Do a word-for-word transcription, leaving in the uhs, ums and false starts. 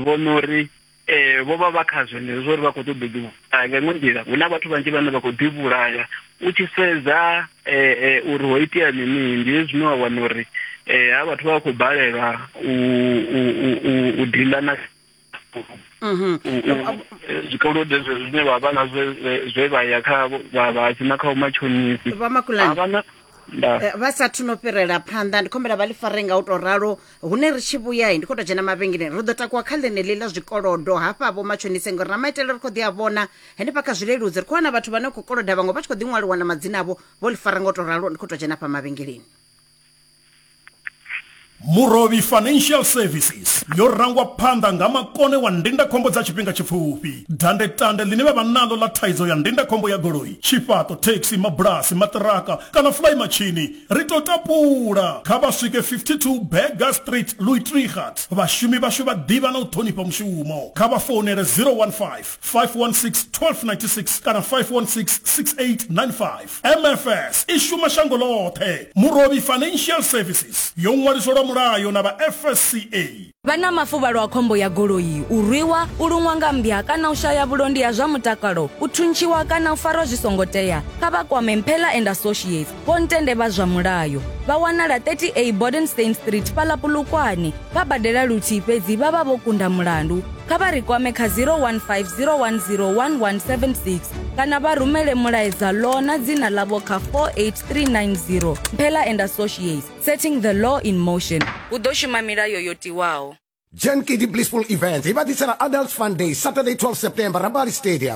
vhona uri eh vho vha vha kha zwenezwo uri vha khou ṱoḓa u ḓivhulaya. Nga iṅwe nḓila hu na vhathu vhanzhi vhane vha khou ḓivhulaya u tshi sedza eh uri ho itea mini, ndi hezwi zwine wa wana uri eh ha vhathu vha khou balelwa u u u u deala na zwikolodo zwine vha vha nazwo zwe vha ya kha vha vha sina kha matshonisi. Vha Makulani vha sathu no fhirela phanḓa, ndi khombela vha ḽi fare nga u to ralo. Hune ri tshi vhuya ndi khou tou dzhena mavhengeleni, ri ḓo takuwa kha ḽeneḽi ḽa zwikolodo hafha vho matshonise, ngori na maitele ri khou ḓi a vhona henefha kha zwileludzi, ri khou wana vhathu vhane khou koloda vhaṅwe vha tshi khou ḓi ṅwaliwa na madzina avho, vho ḽi fara nga u to ralo. Ndi khou tou dzhena hafha mavhengeleni. Murovhi Financial Services yo rangwa phanḓa nga makone wa ndindakhombo dza tshifhinga tshipfufhi. Dandetande ḽine vha vha naḽo ḽa thaidzo ya ndindakhombo ya goloi, tshifhaṱo, thekhisi, mabulasi, maṱiraka kana fly matshini, ri to tapula. Kha vha swike fifty-two Berger Street, Louis Trichardt. Vhashumi vhashu vha ḓivha na u ṱhonifha mushumo. Kha vha founele zero one five, five one six, twelve ninety six kana five one six, six eight nine five. M F S i shuma shango ḽoṱhe. Murovhi Financial Services yo ṅwaliselwa mulayo na vha F S C A. Vha na mafuvhalo a khombo ya goloi, u rwiwa, u luṅwa nga mmbwa kana u shaya vhulondi ha zwa mutakalo, u thuntshiwa kana u farwa zwi songo tea, kha vha kwame Mphela and Associates, Vho Ntende vha zwa mulayo. Vha wanala thirty A Bodenstein Street fhaḽa Polokwane. Vha badela luthihi fhedzi vha vha vho kunda mulandu. Kha vha ri kwame kha zero one five zero one zero one one seven six kana vha rumele mulaedza law na dzina ḽavho kha four eight three nine zero. Mphela and Associates, setting the law in motion. Hu ḓo shuma milayo yo tiwaho. Jen K D Blissful Events, vha ḓisela Adult Fun Day, Saturday twelfth September, Rabali Stadium.